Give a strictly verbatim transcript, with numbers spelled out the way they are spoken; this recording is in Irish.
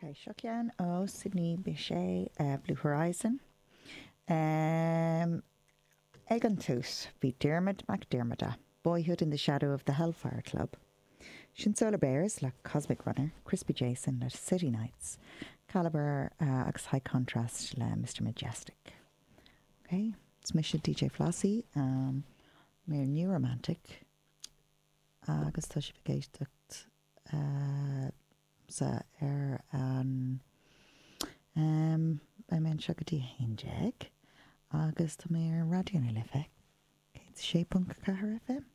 Ok, seo ceann ó Sidney Bechet uh, Blue Horizon. Um, ag an tús bhí Diarmuid Mac Diarmada, Boyhood in the Shadow of the Hellfire Club. Sin Solar Bears le Cosmic Runner, Crispy Jason le City Nights, Caliber uh, agus High Contrast le Mr. Majestic. Okay, Is mise DJ Flossie, um, mé New Romantic agus tá sibh ag éisteacht uh, sa ar an um, beidh mé anseo go dtí haon déag agus tá mé ar Raidió na Life céad sé ponc ceathair FM.